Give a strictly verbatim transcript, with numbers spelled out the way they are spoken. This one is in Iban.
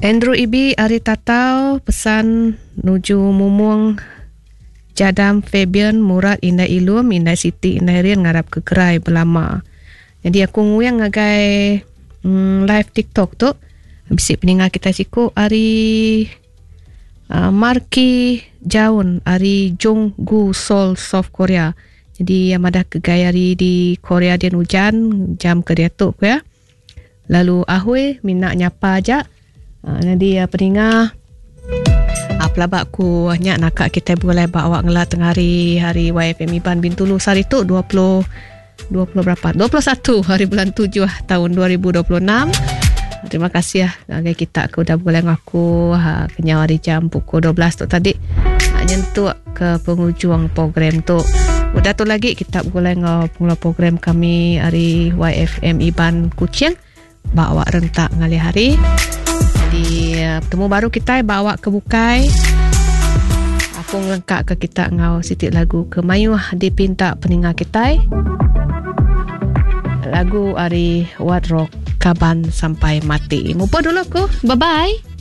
Andrew Ibi ari Tatau pesan nuju Mumung Jadam Fabian Murad Indai Ilum Indai Siti Indai Rian ngarap ke gerai belama. Jadi aku nguyang ngagai mm, live TikTok tu bisi peninga kita siku ari uh, Marki Jaun ari Junggu Seoul South Korea. Jadi yang madah ke gaya hari di Korea dia hujan jam ke dia tu ya. Lalu ahui minat nyapa aja. Uh, jadi uh, peninga uh, pelabak ku nyak nakak kita boleh bawa ngelah tengah hari hari Y F M Iban Bintulu sehari tu dua puluh dua puluh berapa? dua puluh satu hari bulan tujuh tahun dua ribu dua puluh enam. Terima kasih ya ngagai kita ke udah boleh ngaku ha, kenyau hari jam pukul dua belas tu tadi ha, nyentuk ke penghujung program tu. Udah tu lagi kita boleh ngau pengelola program kami hari Y F M Iban Kuching bawa rentak ngalih hari. Jadi bertemu baru kita bawa ke bukai. Aku ngelengkak ke kita ngau sitik lagu ke mayuh dipinta peninga kita. Lagu ari What Rock Kaban Sampai Mati. Mupa dulu aku. Bye-bye.